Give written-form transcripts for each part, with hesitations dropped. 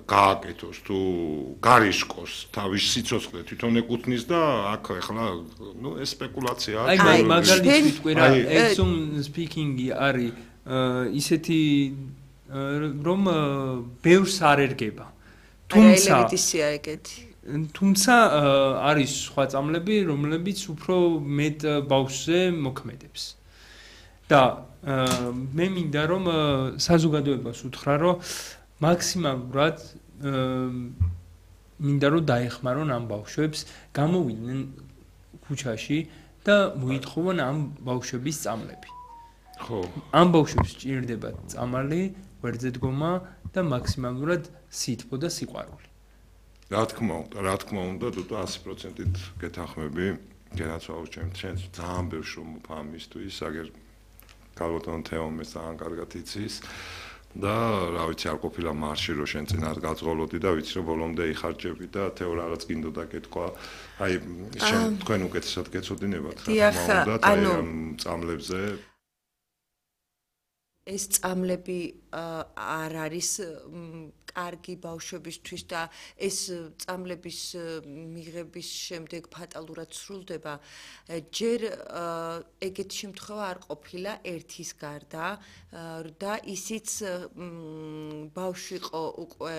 გააკეთოს თუ გარიშკოს თავის სიცოცხლე თვითონ ეკუთვნის და აქ ახლა ეს სპეკულაციაა. აი მაგალითად ვიტყვი რა exum speaking-ი არის ისეთი რომ ბევრს არ ერგება. თუმცა არის სხვა წამლები, რომლებიც უფრო მეტ ბავშვზე მოქმედებს. და მე მინდა რომ საზოგადოებას უთხრა რომ მაქსიმალურად მინდა რომ დაეხმარონ ამ ბავშვებს, გამოვიდნენ ქუჩაში და მოითხოვონ ამ ბავშვების წამლები. ხო. ამ ბავშვებს სჭირდებათ წამალი, გვერდზე დგომა და მაქსიმალურად სითბო და სიყვარული. რა თქმა უნდა, თუ 100%-ით გეთანხმები, გენაცვალოს ჩემს ძალიან ბევრ შრომობ ამისთვის, აგერ გალბატონ თეომეს ძალიან კარგად იცის და რა ვიცი არ ყოფილა მარში რომ შენ წინათ გაწყოლოდი და ვიცი რომ ბოლომდე იხარჯები და თეო რაღაც გინდოდა კითხვა აი შენ თქვენ უკეთესად გეცოდინებათ რა თქმა უნდა ამ წამლებზე ეს წამლები არ არის კარგი ბავშვებისთვის და ეს წამლების მიღების შემდეგ ფატალურად სრულდება ჯერ ეგეთ შემთხვევა არ ყოფილა ერთის გარდა და ისიც ბავშვი იყო უკვე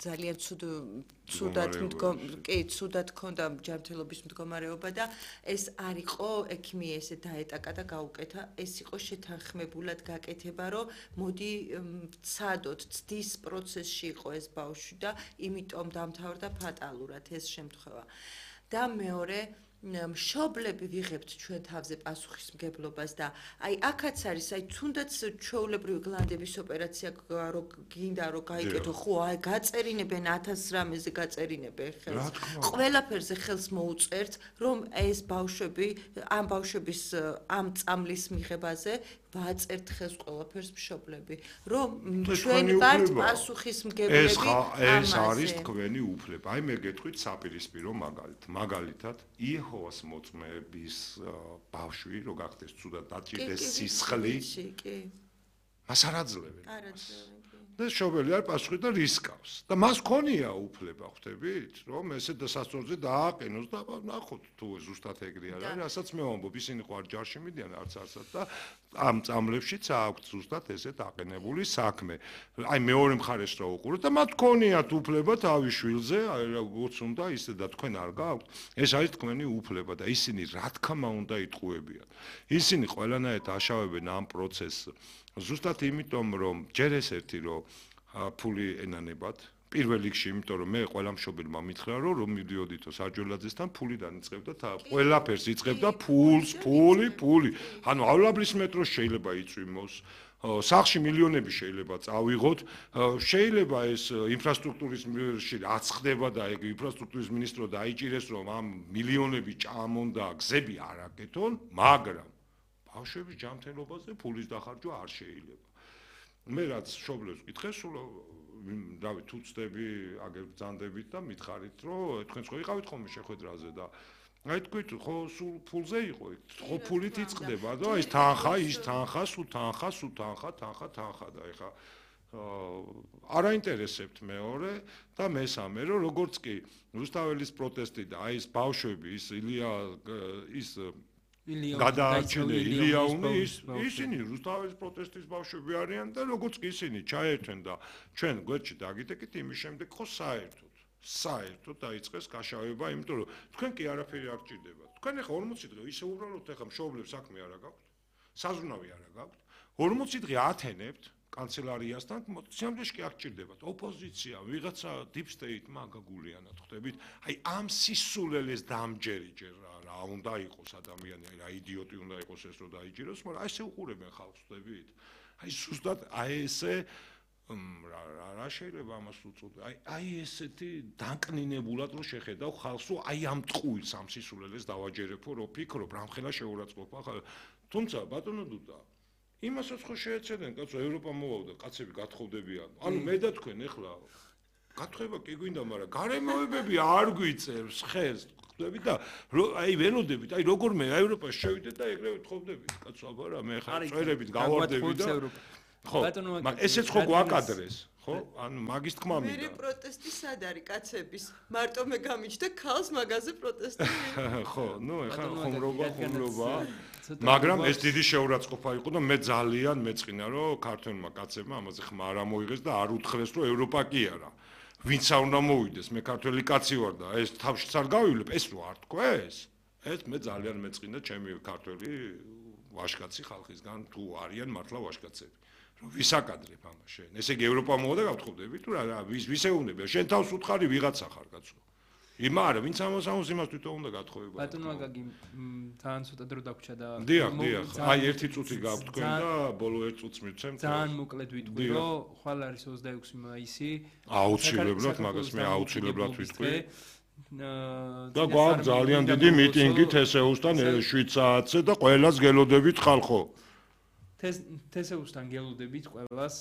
ძალიან ცუდად ქონდა ჯანმრთელობის მდგომარეობა და ეს არ იყო ექიმი ესე დაეტაკა და გაუკეთა ეს იყო შეთანხმებულად გაკეთება რომ მოდი ცადოთ ცდის პროცესში იყო ეს ბავშვი და იმიტომ დამთავრდა ფატალურად ეს შემთხვევა და მეორე მშობლები ვიღებთ ჩვენ თავზე პასუხისმგებლობას და აი აქაც არის აი თუნდაც ჩვეულებრივი გლანდების ოპერაცია რო გინდა რომ გაიკეთო ხო აი გაწერინებენ 1000 რამეზე გაწერინებენ ხელს ყველაფერზე ხელს მოუწერთ რომ ეს ბავშვები ამ ბავშვების ამ წამლის მიღებაზე ვაწერთ ხელს ყველაფერს მშობლები რომ ჩვენ ვართ პასუხისმგებლები ეს არის თქვენი უფლება აი მე გეტყვით საპირისპირო მაგალითად იეჰოვას მოწმეების ბავშვი რო გახდეს ცუდად დაჭირდეს სისხლი მას არ აძლევენ და შობელი არ პასუხი და რისკავს და მას ქონია უფლება ხვდებით რომ ესე დასასწორზე დააყენოს და ნახოთ თუ ზუსტად ეგრე არის რასაც მე ვამბობ ისინი ხო არ ჯარში მიდიან არცად და ამ წამლებშიც აქვს ზუსტად ესეთ აყენებული საქმე აი მეორე მხარეს რა უყუროთ და მათ ქონიათ უფლება თავის შვილზე აი როგორც უნდა ისე და თქვენ არ გაქვთ ეს არის თქვენი უფლება და ისინი რა თქმა უნდა იტყუებიან ისინი ყველანაირად აშავებენ ამ პროცესს ზუსტად იმიტომ რომ ჯერ ეს ერთი რომ ფული ენანებათ პირველ რიგში იმიტომ რომ მე ყველა მშობელმა მითხრა რომ მივდიოდითო სარჯველაძესთან ფული დაიწყებდა და ყველაფერს იწყებდა ფული ანუ ავლაბლის მეტროს შეიძლება იწვიმოს სახში მილიონები შეიძლება წავიღოთ შეიძლება ეს ინფრასტრუქტურის რაც ხდება და ეგ ინფრასტრუქტურის მინისტრო დაიჭირეს რომ ამ მილიონები ჭამონ და გზები არ აკეთონ მაგრამ ბავშვების ჯანმრთელობაზე ფულის დახარჯვა არ შეიძლება. მე რაც მშობლებს ვკითხე, სულ რავი, თუ ცდები, აგერ ბრძანდებით და მითხარით, რომ თქვენ ხო იყავით ხოლმე შეხვედრაზე და აი თქვით, ხო სულ ფულზე იყო, ხო ფულით იწყდება და ეს თანხა, ის თანხა, სულ თანხა და ეხა არ აინტერესებთ მეორე და მესამე, რომ როგორც კი რუსთაველის პროტესტი და აი ეს ბავშვები, ის ილია ის გადაარჩენე ილიაუნი ისინი რუსთაველის პროტესტის ბავშვები არიან და როგორც კი ისინი ჩაერთვენ და ჩვენ გვერდში დაგიტეკით იმის შემდეგ ხო საერთოდ დაიწყეს გაშავება იმიტომ რომ თქვენ კი არაფერი არ გჭირდებათ თქვენ ახლა 40 დღე ისე უბრალოდ ახლა მშობლებს საქმე არ გაქვთ საზრუნავი არ გაქვთ 40 დღე ათენებთ კანცელარიასთან სიამბლეში კი არ გჭირდებათ ოპოზიცია ვიღაცა deep state-მა გაგულიანად ხვდებით აი ამ სისულელეს დამჯერი ჯერ რა უნდა იყოს ადამიანი აი რა იდიოტი უნდა იყოს ეს რომ დაიჭიროს მაგრამ აი ესე უყურებენ ხალხს ხვდებით აი ზუსტად აი ესე რა შეიძლება ამას უწოდო აი ესეთი დაკნინებულად რომ შეხედავ ხალხს აი ამ ტყუილს ამ სისულელეს დავაჯერებო რომ ფიქრობ რამხელა შეურაცხყოფა თუმცა ბატონო დუდა იმასაც ხო შეეცედენ კაცო ევროპა მოვავდა კაცები გათხოვდებიან ანუ მე და თქვენ ეხლა გათხოვება კი გვინდა მაგრამ გარემოებები არ გვიწევს ხეს ხვდებით და აი ველოდებით აი როგორ მე ევროპაში შევიდეთ და ეგრევე თხოვდებით კაცო აბა რა მე ხარ წვერებით გავარდები და ხო, მაგრამ ესეც ხო გვაკადრეს, ხო? ანუ მაგის თქმა მინდა. მე პროტესტი სად არის კაცების? მარტო მე გამიჩნდა ქალს მაგაზე პროტესტი. ხო, ნუ ეხლა ხუმრობა. მაგრამ ეს დიდი შეურაცხყოფა იყო და მე ძალიან მეწყინა რომ ქართველმა კაცებმა ამაზე ხმა არ ამოიღეს და არ უთხრეს რომ ევროპა კი არა. ვინც არ უნდა მოვიდეს, მე ქართველი კაცი ვარ და ეს თავშიც არ გავივლებ, ეს რო არ თქვეს? ეს მე ძალიან მეწყინა ჩემი ქართველი ვაჟკაცი ხალხისგან თუ არიან მართლა ვაჟკაცები. რომ ვისაკადრებ ამას შენ. ესე იგი ევროპა მოვა და გავთხოვდები თუ რა ვის ეუბნება? შენ თავს უთხარი ვიღაცა ხარ კაცო. იმა არა, ვინც ამას იმას თვითონ უნდა გათხოვება. ბატონო მაგაგი ძალიან ცოტა დრო დაგვრჩა და დიახ, აი ერთი წუთი გაქვთ თქვენ და ბოლო ერთ წუთს მივცემთ. ძალიან მოკლედ ვიტყვი, რომ ხვალ არის 26 მაისი. აუცილებლად მაგას მე აუცილებლად ვიტყვი. და გვაქვს ძალიან დიდი მიტინგი თესეუსთან 7 საათზე და ყველას გელოდებით ხალხო. თესეუსთან გელოდებით ყველას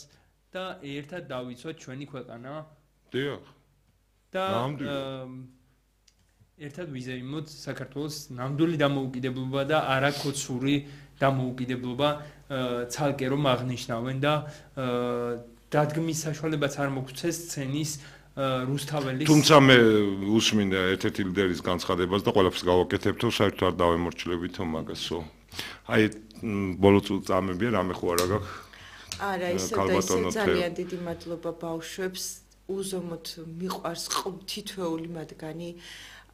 და ერთად დავიცვათ ჩვენი ქვეყანა. დიახ. და ერთად ვიზეიმოთ საქართველოს ნამდვილი დამოუკიდებლობა და არაკოცური დამოუკიდებლობა ცალკე რომ აღნიშნავენ და დადგმის საშუალებაც არ მოგვცეს სცენის რუსთაველის თუმცა მე უსმინდა ერთ-ერთი ლიდერის განცხადებას და ყველაფერს გავაკეთებთო საერთოდ არ დავემორჩილებითო მაგასო აი ბოლო წამებია რამე ხო არა გაქვს არა ისე ძალიან დიდი მადლობა ბავშვებს უზომოდ მიყვარს თითოეული მათგანი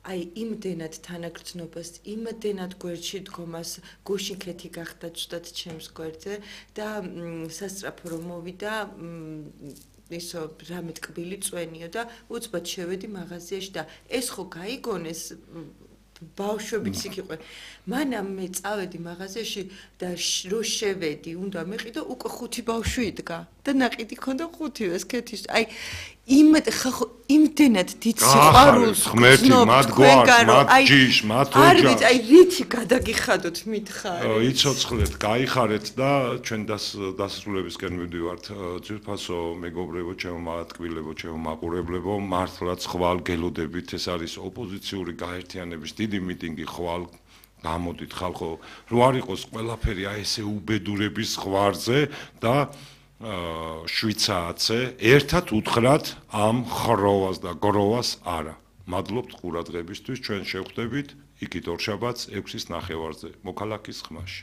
აი იმდენად თანაგრძნობას, იმდენად გვერდში დგომას, გუშინ ქეთი გახდა ცუდად ჩემს გვერდზე და სასწრაფო რომ მოვიდა ისო რამე ტკბილი წვენიო და უცბად შევედი მაღაზიაში და ეს ხო გაიგონეს ბავშვებიც იქ იყვნენ. მანამ მე წავედი მაღაზიაში და რო შევედი, უნდა მეყიდო უკვე 5 ბავშვი იდგა და ნაყიდი ქონდა 5 ეს ქეთის. აი იმდენად დიდ სიყვარულს ღმერთი მათ გვარს, მათ ჯიშ, მათ ოჯახს. არ ვიცი, აი რითი გადაგიხადოთ მითხარი. იცოცხლეთ, გაიხარეთ და ჩვენ დასასრულებისკენ მივდივართ. ძირფასო მეგობრებო, ჩემო მათკბილებო, ჩემო მაყურებლებო, მართლაც ხვალ გელოდებით, ეს არის ოპოზიციური გაერთიანების დიდი მიტინგი ხვალ გამოდით ხალხო, რო არ იყოს ყველაფერი აი ესე უბედურების ხვარზე და 7 საათზე ერთად უთხრათ ამ ხროვას და გროვას არა. მადლობთ ყურადღებისთვის, ჩვენ შევხვდებით იქით ორშაბათს 6-ის ნახევარზე, მოქალაქის ხმაში.